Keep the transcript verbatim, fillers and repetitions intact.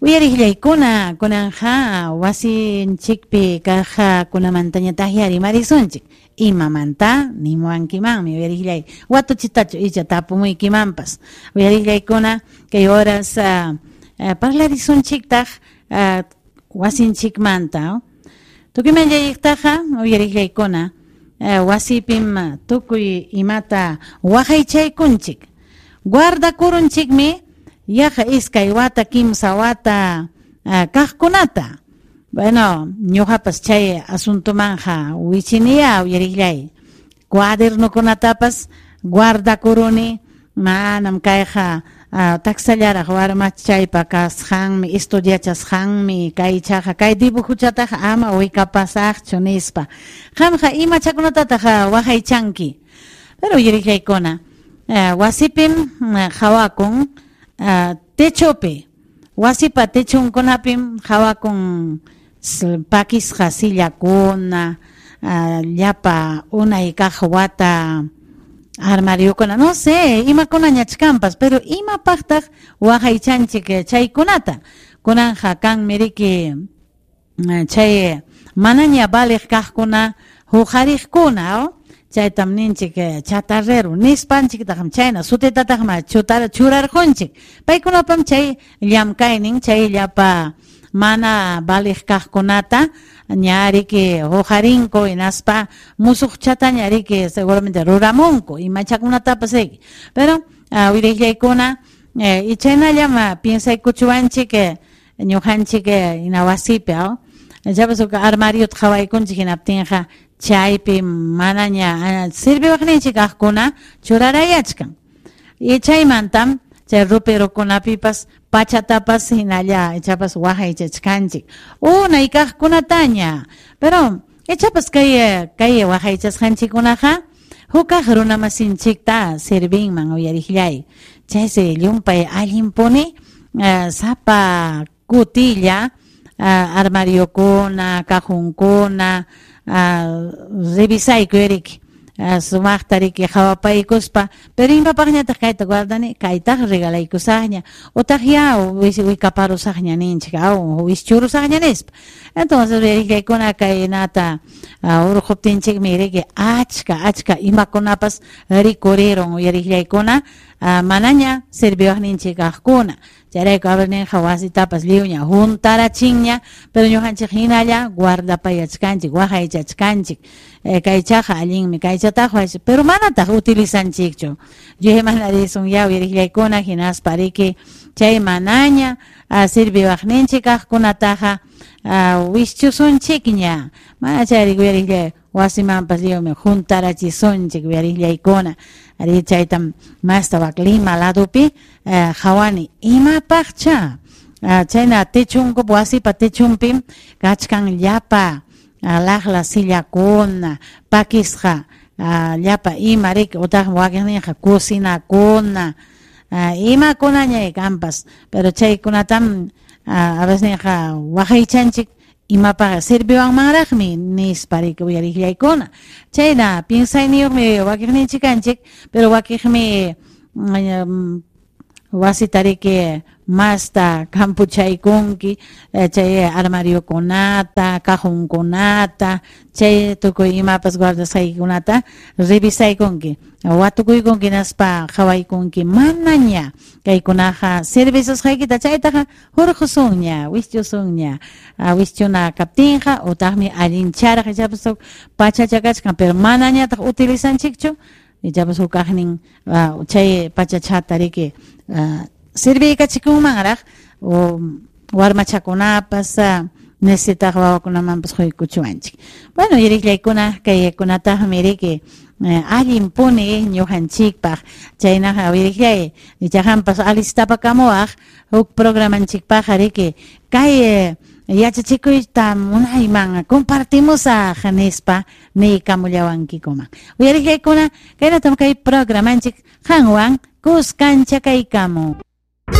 Uyariqllaykuna kunanja wasinchikpi kaqkunamantañataqya rimarisunchik. Imamanta nimuwankimanmi uyariqllay watuchitachu icha tapumuykimanpas. Uyariqllaykuna kay horas uh, uh, parlarisunchiktaq uh, wasinchikmanta. Tukuyman llayqtaqa uyariqllaykuna uh, wasipim tukuy imata waqaychaykunchik. Guardakurunchikmi yaqa iskay wata kimsa wata uh, kaqkunata. Bueno, ñuqapas chay asuntumanja wichiniya uyariqllay. Cuadernokunatapas guardakuruni manam kayqa uh, taksallaraq warmachaypa kasqanmi estudiachasqanmi kaychaqa kay dibujuchataqa ama wikapasaqchu nispa. Qamqa imachakunatataq waqaychanki. Pero uyariqllaykuna uh, wasipim uh, qhawakun uh, techopi wasipa techunkunapim qhawakun pakisqa sillakuna uh, llapa unay kaq wata armariokuna, no sé, imakunañach kanpas, pero imapaqtaq waqaychanchik chaykunata. Kunanja kanmi riki chay manaña valiq kaqkuna huqariqkuna, oh? Chaytam ninchik chatarrero nispanchiktaqmi chayna sutitataqmi churarqunchik. Paykunapam chay llamkaynin chay llapa mana valiq kaqkunata ñariki huqarinku hinaspa musuqchataña riki seguramente ruramunku imachakunatapas riki. Pero uh, uyariqllaykuna eh, y chaynallam piensaykuchuwanchik ñuqanchik hina wasipi, oh? Chapas huk armariota qhawaykunchik hinaptinqa chaypi manaña sirviwaqninchik kaqkuna churarayachkan. Y chaymantam chay roperokunapipas pachatapas hinalla ichapas waqaychachkanchik unay kaqkunataña. Pero ichapas kay kay waqaychasqanchikkunaqa hukaq runamasinchikta servinman uyariqllay. Chaysi llumpay allinpuni uh, sapa kutilla uh, armariokuna, cajonkuna uh, revisayku riki. Uh, sumaqta riki qhawapaykuspa, pero imapaqñataq kayta guardani, kaytaq regalaykusaqña utaq ya wikaparusaqña ninchik, aw wischurusaqña nispa. Entonces uyariqllaykuna kaynata uh, urquptinchikmi riki achka achka imakunapas rikurirun uyariqllaykuna uh, manaña serviwaqninchik kaqkuna. Chayrayku abarninqa wasitapas lliwña juntarachinña, pero ñuqanchik hinalla guardapayachkanchik, waqaychachkanchik. Eh, kaychaqa allinmi, kaychataq pero manataq utilizanchikchu. Yuyaymanarisun ya uyariqllaykuna hinaspa riki chay manaña uh, serviwaqninchik kaqkunataqa uh, wischusunchikña. Mana chayri uyariqllay wasimanpas lliwmi juntarachisunchik uyariqllaykuna. Ari chaytam masta wak Lima ladupi uh, qhawani imapaqcha uh, chayna techunkup wasipa techunpim kachkan llapa uh, laqla sillakuna pakisqa uh, llapa ima riki utaqmi wakinninqa cocinakuna uh, imakunaña kanpas, pero chaykunatam uh, a veces ninqa waqaychanchik imapaqa serviwanmanraqmi nispa riki uyariqllaykuna. Chayna piensayniyuqmi wakiqninchik kanchik, pero wakiqmi um, wasita riki masta kampuchaykunki chay armariokunata, cajonkunata, chay tukuy imapas guardasqaykikunata revisaykunki, watukuykunki hinaspa qhawaykunki manaña kaykunaqa servisusqaykita chaytaqa hurqusunña, wischusunña. Wischuna kaptinqa utaqmi allincharaq ichapas huk pachacha kachkan, pero manañataq utilizanchikchu ichapas huk kaqnin uh, chay pachachata riki uh, serviykachikunmanraq o warmachakunapas uh, necesitaq wawakunamanpas quykuchuwanchik. Bueno, uyariqllaykuna kaykunataqmi riki eh, allinpuni ñuqanchikpaq. Chaynaqa uyariqllay ichaqampas alistapakamuwaq huk programanchikpaq riki kay eh, yachachikuyta munayman compartimusaq nispa niykamullawankikuman. Uyariqllaykuna kaynatam kay programanchik qanwan kuskancha kaykamu.